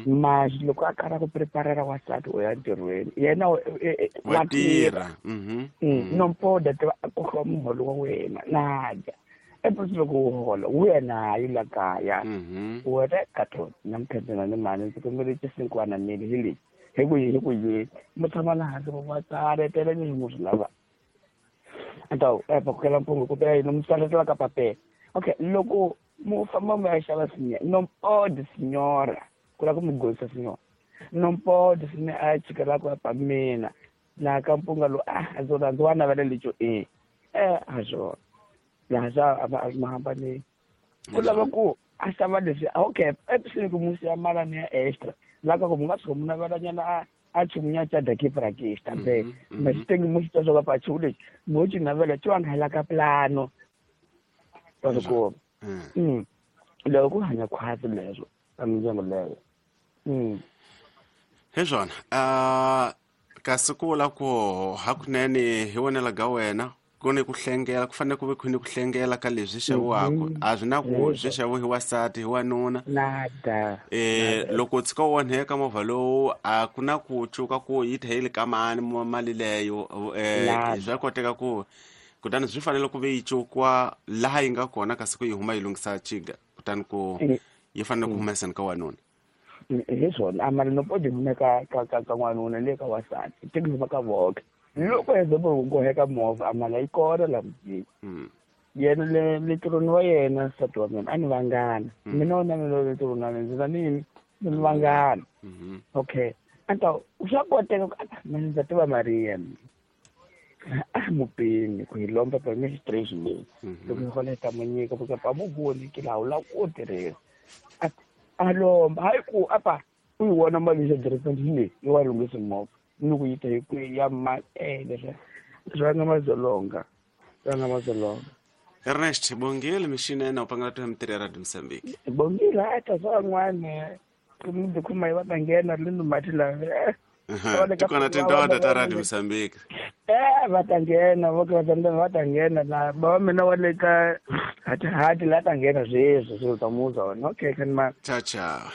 Masi loko a karhi a ku preparela wansati u ya ntirhweni yena wa tirha. Nompoda tiva a kokiwa muholo wa wena na dya epusi loko u hola wu ya nayo la kaya wena kato namuntlha ni mali ndzi kombele xisinkwana mili hi lexi hi ku hi ku yini mi tshama la hansi va tsaletela leswi mu swi lavaka a ta va kokela mpungu ku yini mi tsaletela ka papela. Okay, loko mu famba mu ya xava nompode signora ku lava ku mi gorisa signora nompode sine a chikela ku pa mina laha ka mpunga lowu a ndzi ndzi wa navela lexo e a swona laha swa a ma hambanile ku lava ku a xava leswi okay episini ku musi ya malani ya extra laha ka ku mu nga tshuka mu navelanyana a chumunya cha dakiprakista be masitengi musi twa swa pa chumu lexi mo xi navela xi va nga ka plano wa swi kuma. Loko ku hanya khwatsi leswo ka mindyangu leyo. Hi swona kasi ku vula ku hakunene hi vonela ga wena ku ni ku hlengela ku fanele ku ve ku ni ku hlengela ka leswi xaviwaka a swi na ku swi xaviwa hi wasati hi wanuna. Loko u tshika u onheka movha lowu a ku na ku cuka ku yi tlhe yi le ka mani mali leyo swa koteka ku kutani swi fanele ku ve yi cukiwa laha yi nga kona kasi ku yi huma yi lunghisa chiga kutani ku yi fanele ku humeseni ka wanuna. Hi swona a mali no podi hume ka ka ka ka n'wanuna le ka wasati teki huma ka voke loko example ku heka movha a mali yi kona la mutini yena le ntirhweni wa yena nsati wa mina a ni vangana mina wona mina le ntirhweni wa mina ndzi na nini ni vangana. Okay, a ta swa koteka ku mina ndza tiva Maria a mupeni ku hi lomba pa mi situation leyi loko hi hola hi ta mu nyika ku pa mu voni ki laha u lava ku tirhisa a lomba hayi ku apa u yi vona mali xa direpe hi leyi yi wa lunghisa movha ni ku yi ta hi kwihi ya ma leswi swi nga madzolonga swi nga madzolonga. Ernest bongile mixinene u pangela to mitirho ya Radio Mozambique. Bongile a ta swa van'wana tikhuma yi va ta nghena ri ni mati lava tikona tindoda ta Radio Mozambique. Va ta nghena vo ka va ta nghena na bava mina wa le ka hati hati la ta nghena sweswi swilo ta muza wona. Okay, kan ma ciao ciao.